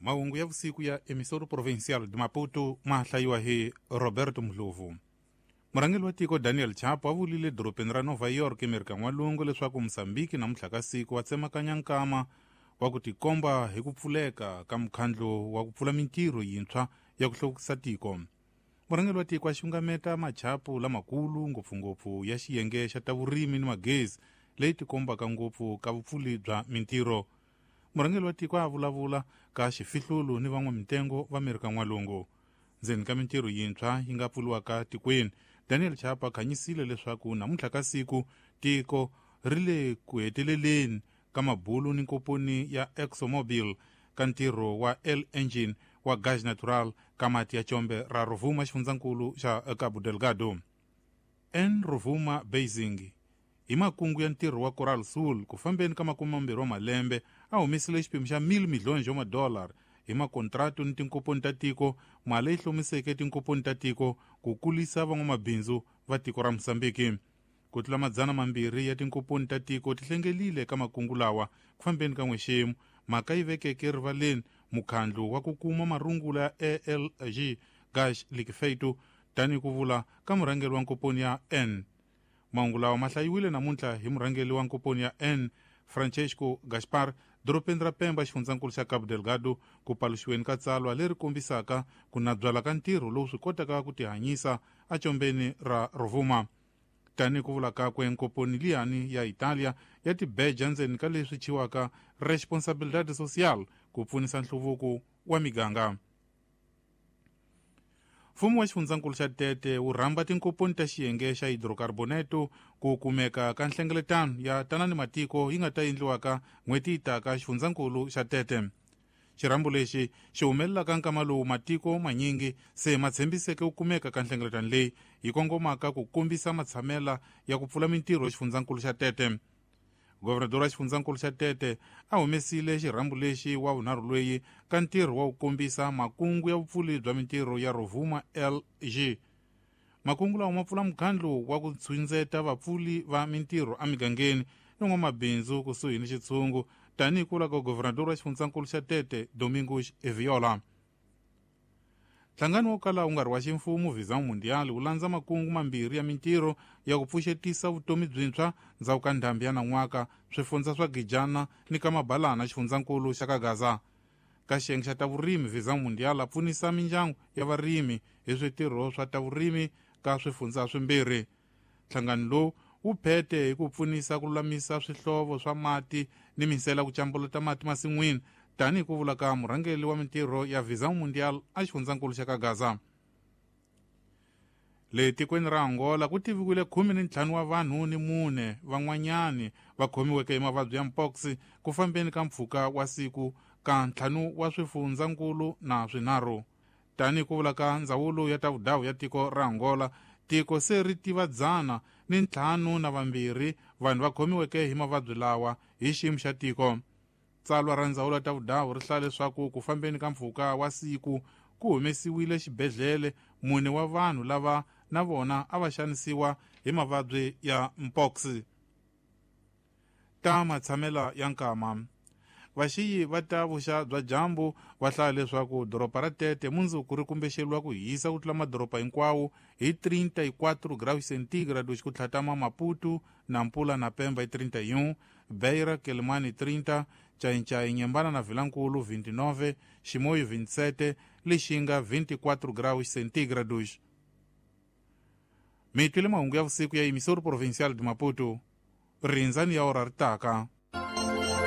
Mahungu ya vusiku ya Emissora Provincial de Maputo ma hlayiwa hi Roberto Mdlovu. Murhangeri wa tiko Daniel Chapo a vulile dorobeni ra Nova York eMerika N'walungu leswaku Mozambique namuntlha ka siku wa tsemakanya nkama wa ku tikomba hi ku pfuleka ka mukhandlu wa ku pfula mintirho yintshwa ya ku hluvukisa tiko. Murhangeri wa tiko a xungameta machapu lamakulu ngopfungopfu ya xiyenge xa ta vurimi ni magezi leyi tikombaka ngopfu ka vupfuli bya mintirho. Murhangeri wa tiko a vulavula ka xifihlulu ni van'wamitengo va Amerika N'walungu. Ndzeni ka mintirho yintshwa yi nga pfuriwaka tikweni, Daniel Chapo a khanyisile leswaku namuntlha ka siku tiko ri le ku heteleleni ka mabulu ni nkomponi ya ExxonMobil ka ntirho wa L-Engine wa gaz natural ka mati ya combe ra Rovuma xifundzankulu xa Cabo Delgado. N Rovuma Basin hi makungu ya ntirho wa Coral Sul ku fambeni ka 20 wa malembe a humesile xiphemu xa 1 miliyoni xa madolara hi makontratu ni tinkomponi ta tiko, mali leyi hlomiseke tinkomponi ta tiko ku kulisa van'wamabindzu va tiko ra Mozambique. Ku tlula 200 ya tinkomponi ta tiko ti hlengelile ka makungu lawa ku fambeni ka n'wexemu, mhaka yi vekeke rivaleni mukhandlu wa ku kuma marungula ya ALG Gás Liquefeito tanihi ku vula ka murhangeri wa nkomponi ya N. Mahungu lawa ma hlayiwile namuntlha hi murhangeri wa nkomponi ya N, Francesco Gaspar, dorobeni ra Pemba xifundzankulu xa Cabo Delgado, ku paluxiweni ka tsalwa leri kombisaka ku nabyala ka ntirho lowu swi kotaka ku tihanyisa ecombeni ra Rovuma. Tanihi ku vula kakwe, nkomponi liyani ya Italia ya tibeja ndzeni ka leswi chiwaka responsabilidade social ku pfunisa nhluvuko wa miganga. Mfumo wa xifundzankulu xa Tete wu rhamba tinkomponi ta xiyenge xa hidrokarboneto ku kumeka ka nhlengeletano ya tanani matiko yi nga ta endliwaka n'hweti yi taka xifundzankulu xa Tete. Xirhambo lexi xi humelelaka nkama lowu matiko manyingi se ma tshembiseke ku kumeka ka nhlengeletano leyi yi kongomaka ku kombisa matshamela ya ku pfula mintirho xifundzankulu xa Tete. Governador wa xifundzankulu xa Tete a humesile xirhambo lexi wa vunharhu loyi ka ntirho wa ku kombisa makungu ya vupfuli bya mintirho ya Rovuma LG. Makungu lawa ma pfula mukhandlu wa ku tshundzeta vapfuli va mintirho emigangeni ni n'wamabindzu kusuhi ni xitshungu, tanihi ku vula ka governador wa xifundzankulu xa Tete Domingos Eviola. Nhlangano wo kala wu nga ri wa ximfumo Visão Mundial wu landza makungu mambirhi ya mintirho ya ku pfuxetisa vutomi byintshwa ndzhaku ka ndhambi ya nan'waka swifundza swa Gijana ni ka Mabalana xifundzankulu xa ka Gaza. Ka xiyenge xa ta vurimi Visão Mundial a pfunisa mindyangu ya varimi hi switirho swa ta vurimi ka swifundza swimbirhi. Nhlangano lowu wu phete hi ku pfunisa ku lulamisa swihlovo swa mati ni minsela ku cambuluta mati masin'wini, tanihi ku vula ka murhangeri wa mintirho ya Visão Mundial a xifundzankulu xa ka Gaza. Le tikweni ra Angola ku tiviwile 15 wa vanhu ni 4 van'wanyani va khomiweke hi mavabyi ya mpox ku fambeni ka mpfhuka wa siku ka 5 wa swifundzankulu na swinharhu. Tanihi ku vula ka ndzawulo ya ta vudawu ya tiko ra Angola, tiko se ri tiva 152 vanhu va khomiweke hi mavabyi lawa hi xiyimo xa tiko. Tsalwa ra ndzawulo ya ta vudawu ri hlaya leswaku ku fambeni ka mpfhuka wa siku ku humesiwile xibedhlele 4 wa vanhu lava na vona a va xanisiwa hi mavabyi ya mpox. Ta matshamela ya nkama. Vaxiyi va ta vuxa bya dyambu va hlaya leswaku doroba ra Tete mundzuku ri kumbexeriwa ku hisa ku tlula madoroba hinkwawo hi 34 graus centígrados ku tlhatama Maputo, Nampula na Pemba hi 31, Beira, Quelimane 30, Chainchai, Nyembana na Vilankulu 29, Chimoio 27, Lixinga 24 graus centígrados. Mi twile mahungu ya vusiku ya Emissora Provincial de Maputo. Rindzani ya ora ri taka.